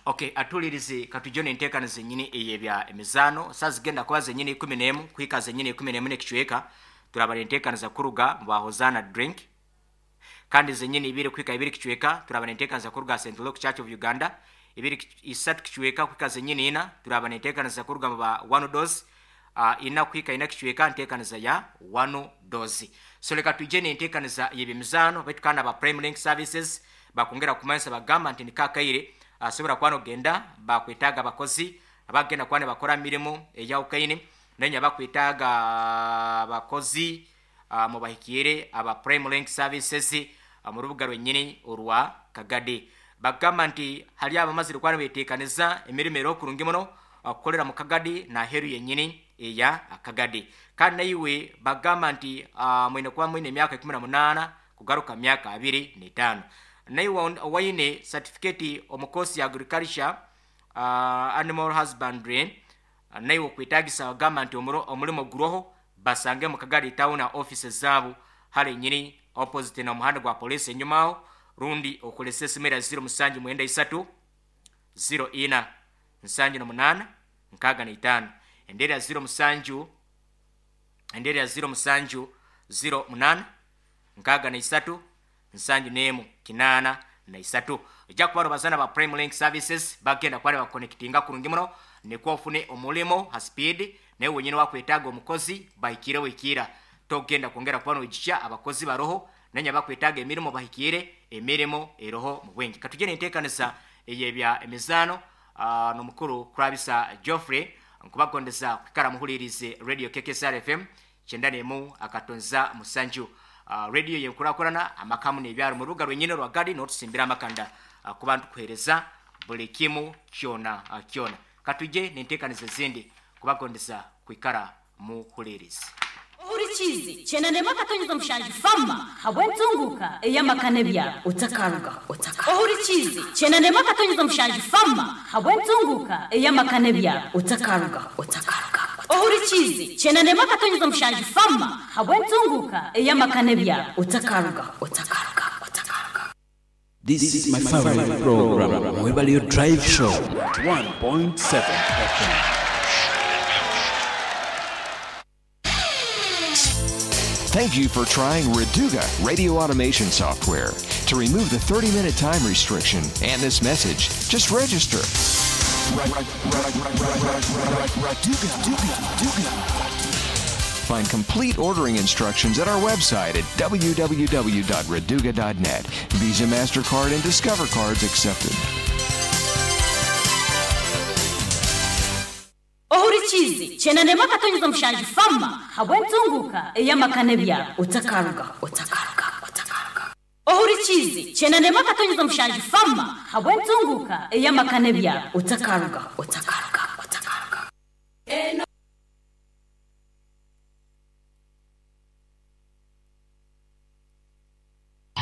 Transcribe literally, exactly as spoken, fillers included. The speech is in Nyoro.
Okay, atulirize katujone enteekaniza zenyini eyebya emizaano. Saa zigenda kuba zenyini ikumi n'emu kuhika zenyini ikumi n'emu n'ekicweka, turabara enteekaniza kuruga mu ba Hosanna Drink. Kandi zenyini ibiri kuhika ibiri kicweka, turabara enteekaniza kuruga Saint Luke Church of Uganda. Ibiri kic- isatu kicweka kuhika zenyini ina, turabara enteekaniza kuruga mu ba One Dose. Uh, ina kuhika ina kicweka, nteekaniza ya One Dose. So leka tuje n'enteekaniza y'ebyemizaano. Baitu kandi aba Prime Link Services bakongera kumanyisa, bagamba nti nikakaire asobola kuba nogenda bakwetaaga abakozi abagenda kuba nibakora mirimu eyawukaine, nenya bakwetaaga abakozi uh, mubahikiire aba Prime Link Services uh, mu rubuga rwennyini orwa Kagadi. Bagamba nti hali abamazire kuba nibeteekaniza emirimu era okurungi muno okukolera mu Kagadi naheru yennyini eya Kagadi. Kandi naiwe bagamba nti uh, mwine kuba mwine emyaka ikumi na munaana kugaruka myaka abiri n'etaano, naiwe waine certificate omu course ya agriculture, uh, animal husbandry, uh, naiwe okwetagisa, bagamba nti omuro- omulimo guroho. Basange mu Kagadi Town offices zaabo hali nyini opposite na muhanda gwa police enyuma aho, rundi okolesa esimu era zero musanju mwenda isatu zero ina nsanju na munaana nkaaga na itaano, endera zero musanju, endera ya zero musanju zero munaana nkaaga na isatu nsanju n'emu kinaana na isatu. Ojja kuba nobazana ba Prime Link Services, bagenda kuba nibakonectinga kurungi muno nikwo ofune omulimo ha speed. Naye wenyini wakwetaaga omukozi, bahikire wikiira, togenda kwongera kuba noijukya abakozi baroho. Nanya bakwetaaga emirimu, bahikire, emirimu eroho mu bwingi. Katugende enteekanisa eyebya emizaano uh, n'omukuru Kurabisa Geoffrey. Nkubagondeza kwikara muhulirize Radio K K S R F M kyenda nemu akatonza musanju, uh, radio yenkurakurana amakamu n'ebyaro mu rubuga rwenyini rwa Gadi, n'otusimbira amakanda uh, kuba ntukuhereza buli kimu kyona uh, kyona. Katuje n'enteekaniza ezindi, kubagondeza kwikara muhulirize. Ohurikizi kyenda nemu akatonyeza mushanju fama habwentunguka ey'amakane byawe Otakaruga otaka. Ohurikizi kyenda nemu akatonyeza mushanju fama habwentunguka ey'amakane byawe Otakaruga otakaruga. Ohurikizi kyenda nemu akatonyeza mushanju fama habwentunguka ey'amakane byawe Otakaruga otakaruga otakaruga. This is my favorite program, Mwebalio Drive Show, one point seven F M. Thank you for trying Reduga radio automation software. To remove the thirty minute time restriction and this message, just register. Find complete ordering instructions at our website at w w w dot reduga dot net. Visa, MasterCard, and Discover cards accepted. Ohurikizi kyenda nemu akatonyeza mushanju fama habwentunguka ey'amakane byawe Otakaruga otakaruga otakaruga. Ohurikizi kyenda nemu akatonyeza mushanju fama habwentunguka ey'amakane byawe Otakaruga otakaruga.